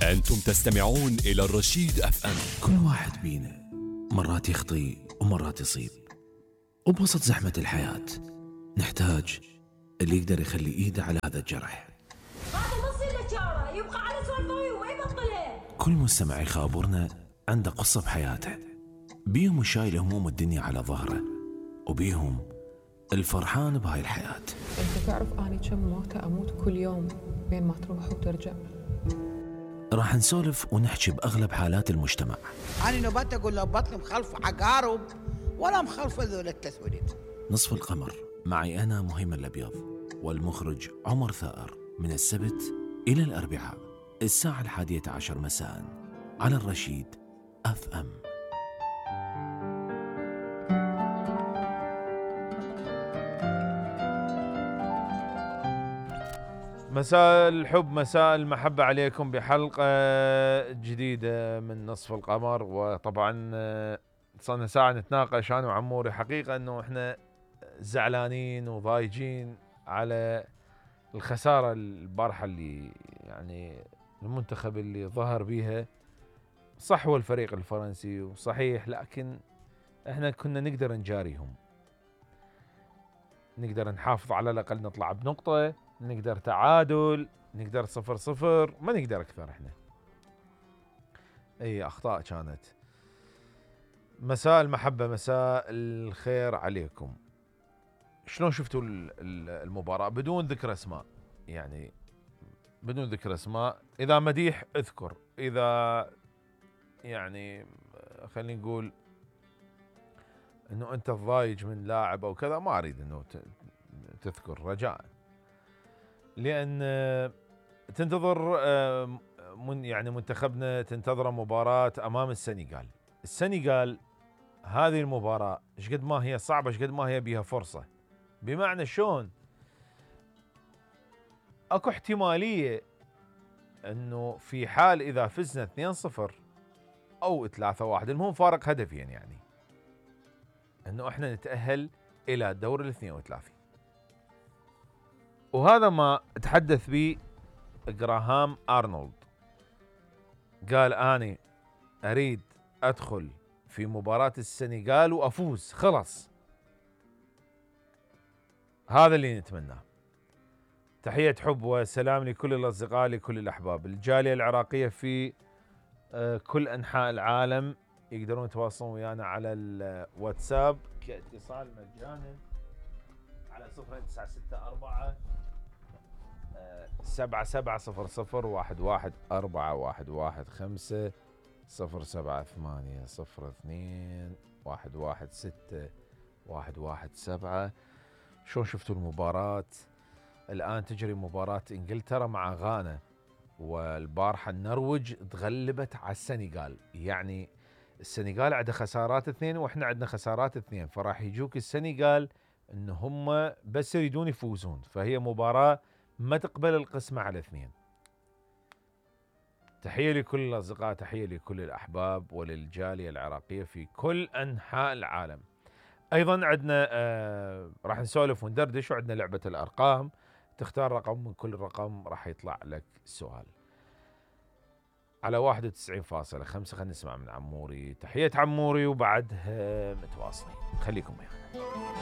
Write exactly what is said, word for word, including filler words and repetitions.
أنتم تستمعون إلى الرشيد أف أم. كل واحد بينا مرات يخطي ومرات يصيب، وبوسط زحمة الحياة نحتاج اللي يقدر يخلي إيده على هذا الجرح. هذا نص الاشاره يبقى على سوالفه وما يبطلها. كل مستمع يخابرنا عنده قصة بحياته، بيهم شايل هموم الدنيا على ظهره، وبيهم الفرحان بهاي الحياة. انت تعرف اني كم موتة اموت كل يوم بين ما تروح وترجع. راح نسولف ونحكي بأغلب حالات المجتمع. أنا نبات أقول له بطل مخلف عقارب ولا مخلف ذول التسويد. نصف القمر معي أنا مهيمن الأبيض والمخرج عمر ثائر، من السبت إلى الأربعاء الساعة الحادية عشر مساء على الرشيد أف أم. مساء الحب، مساء المحبة عليكم بحلقة جديدة من نصف القمر. وطبعا صرنا ساعة نتناقش أنا وعموري، حقيقة أنه إحنا زعلانين وضايجين على الخسارة البارحة اللي يعني المنتخب اللي ظهر بيها. صح هو الفريق الفرنسي وصحيح، لكن إحنا كنا نقدر نجاريهم، نقدر نحافظ على الأقل نطلع بنقطة، نقدر تعادل، نقدر صفر صفر، ما نقدر أكثر. إحنا أي أخطاء كانت. مساء المحبة، مساء الخير عليكم. شلون شفتوا المباراة بدون ذكر أسماء؟ يعني بدون ذكر أسماء، إذا مديح اذكر، إذا يعني خلينا نقول إنه أنت الضايج من لاعب أو كذا، ما أريد إنه تذكر رجاءً، لأن تنتظر من يعني منتخبنا تنتظر مباراة أمام السنغال. السنغال هذه المباراة ايش قد ما هي صعبة، ايش قد ما هي بيها فرصة، بمعنى شلون اكو احتمالية انه في حال اذا فزنا اثنين صفر او ثلاثة واحد، المهم فارق هدفين، يعني انه احنا نتأهل الى دور الاثنين وثلاثين. وهذا ما تحدث به جراهام أرنولد، قال أنا أريد أدخل في مباراة السنغال وأفوز، خلص هذا اللي نتمناه. تحية حب وسلام لكل الأصدقاء، لكل الأحباب، الجالية العراقية في كل أنحاء العالم يقدرون يتواصلون ويانا على الواتساب كاتصال مجانا على صفر تسعة ستة أربعة سبعة سبعة صفر صفر واحد واحد أربعة واحد واحد خمسة صفر سبعة ثمانية صفر اثنين واحد واحد ستة واحد واحد سبعة. شلون شفتوا المباراة؟ الآن تجري مباراة إنجلترا مع غانا، والبارحة النرويج تغلبت على السنغال. يعني السنغال عندها خسارات اثنين وإحنا عندنا خسارات اثنين، فراح يجوك السنغال إن هم بس يريدون يفوزون، فهي مباراة ما تقبل القسمة على اثنين. تحية لكل الأصدقاء، تحية لكل الأحباب وللجالية العراقية في كل أنحاء العالم. أيضا عندنا آه راح نسولف وندردش، وعندنا لعبة الأرقام، تختار رقم من كل رقم راح يطلع لك سؤال على واحد وتسعين فاصلة خمسة. خلينا نسمع من عموري. تحية عموري وبعدها متواصلين، خليكم ويانا.